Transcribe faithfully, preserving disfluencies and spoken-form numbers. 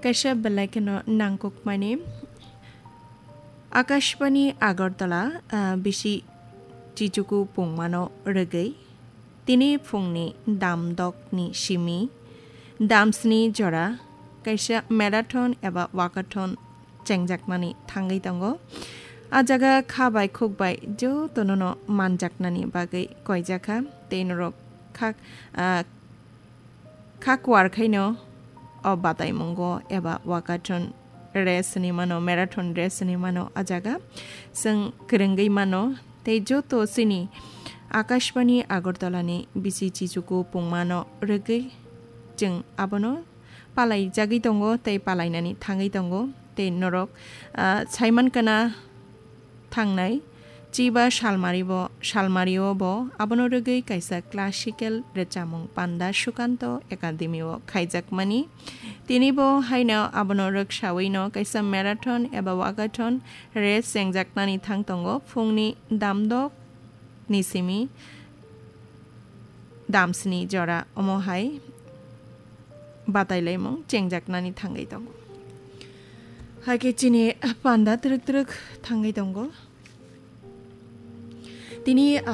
Kaisa belai kheno nangkukmani Akashbani Agartala, ah, bisi Chichuku pungmano rwgwi tini phungni damdokni simi damsni jora kaisa marathon eba walkathon chengjaknani thangwi tongo. A jaga kha bai khuk bai jotono no manjaknani bagwi koijakha tei norok kha, ah, kha kuar khaino o bataimungo eba walkathon race hinwi mano, marathon race hinwi mano a jaga. Chwng kwrwngwi mano tei joto chini Akashbani Agartala ni bisi Chichuku pungmano rwgwi chwng abono palaijagwi tongo tei palainani thangwi tongo. Tei norok, ah, saimankana thangnai chiba salmari bo, salmario bo abono rwgwi kaisa classical rwchapmung panda Sukanto Academy o khaijakmani. Tini bo haino abono rwksawino kaisa marathon eba walkathon race chengjaknani thang tongo. Phungni damdok ni simi damsni jora omo hai batailaimung chengjaknani thangwi tongo. Haikhe chini panda twrwk twrwk thangwi tongo. Tini ang